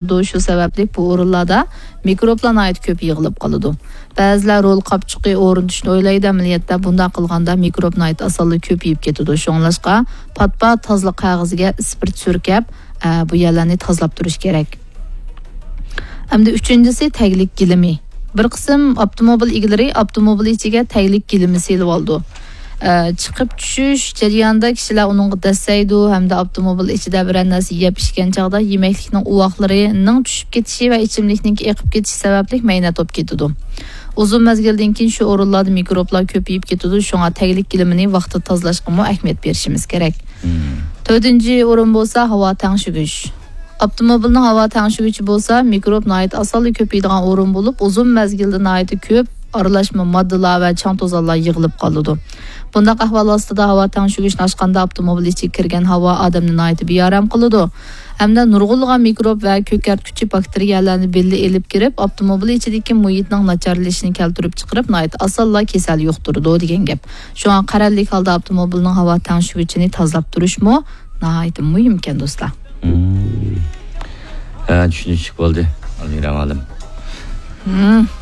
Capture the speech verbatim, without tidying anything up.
شۇ سەۋەبلىك بۇ ئورۇنلاردا مىكروبلار ناھايىتى كۆپ يىغىلىپ قالىدۇ. بەزىلەر رول قاپچۇقى ئورنىتىشنى ئويلايدۇ، ئەمەلىيەتتە بۇنداق قىلغاندا مىكروب ناھايىتى ئاسانلا كۆپىيىپ كېتىدۇ. شۇڭلاشقا پات-پات تازىلىق قەغىزىگە ئىسپىرت سۈركەپ، ئە، بۇ يەرلەرنى تازىلاپ تۇرۇش كېرەك. ئەمدى ئۈچىنچىسى، تەگلىك گىلىمى. بىر قىسىم ئاپتوموبىل ئىگىلىرى ئاپتوموبىل ئىچىگە تەگلىك گىلىمى سېلىۋالىدۇ. ئە، چىقىپ چۈشۈش جەريانىدا كىشىلەر ئۇنىڭغا دەسسەيدۇ ھەمدە ئاپتوموبىل ئىچىدە بىرەر نەرسە يەپ ئىچكەن چاغدا يېمەكلىكنىڭ ئۇۋاقلىرىنىڭ چۈشۈپ كېتىشى ۋە ئىچىملىكنىڭكى ئېقىپ كېتىشى سەۋەبلىك مەينەت بولۇپ كېتىدۇ. ئۇزۇن مەزگىلدىن كېيىن شۇ ئورۇنلاردا مىكروبلار كۆپىيىپ كېتىدۇ، شۇڭا تەگلىك گىلىمىنى ۋاقتىدا تازىلاشقىمۇ ئەھمىيەت بېرىشىمىز كېرەك. تۆتىنچى ئورۇن بولسا ھاۋا تەڭشىگۈچ. ئاپتوموبىلنىڭ ھاۋا تەڭشىگۈچى بولسا مىكروب ناھايىتى ئاسانلا كۆپىيىدىغان ئورۇن بولۇپ، ئۇزۇن مەزگىلدە ناھايىتى كۆپ ئارىلاشما ماددىلار ۋە چاڭ توزانلار يىغىلىپ قالىدۇ. بۇنداق ئەھۋال ئاستىدا ھاۋا تەڭشىگۈچنى ئاچقاندا ئاپتوموبىل ئىچىگە كىرگەن ھاۋا ئادەمنى ناھايىتى بىئارام قىلىدۇ ھەمدە نۇرغۇنلىغان مىكروب ۋە كۆكەرتكۈچى باكتېرىيەلەرنى بىللە ئېلىپ كىرىپ، ئاپتوموبىل ئىچىدىكى مۇھىتنىڭ ناچارلىشىشىنى كەلتۈرۈپ چىقىرىپ، ناھايىتى ئاسانلا كېسەل يۇقتۇرىدۇ دېگەن گەپ. شۇڭا قەرەللىك ھالدا ئاپتوموبىلنىڭ ھاۋا تەڭشىگۈچىنى تازىلاپ تۇرۇشمۇ ناھايىتى مۇھىم ئىكەن، دوستلار. ھە، چۈشىنىشلىك بولدى، ئالمىرا مۇئەللىم.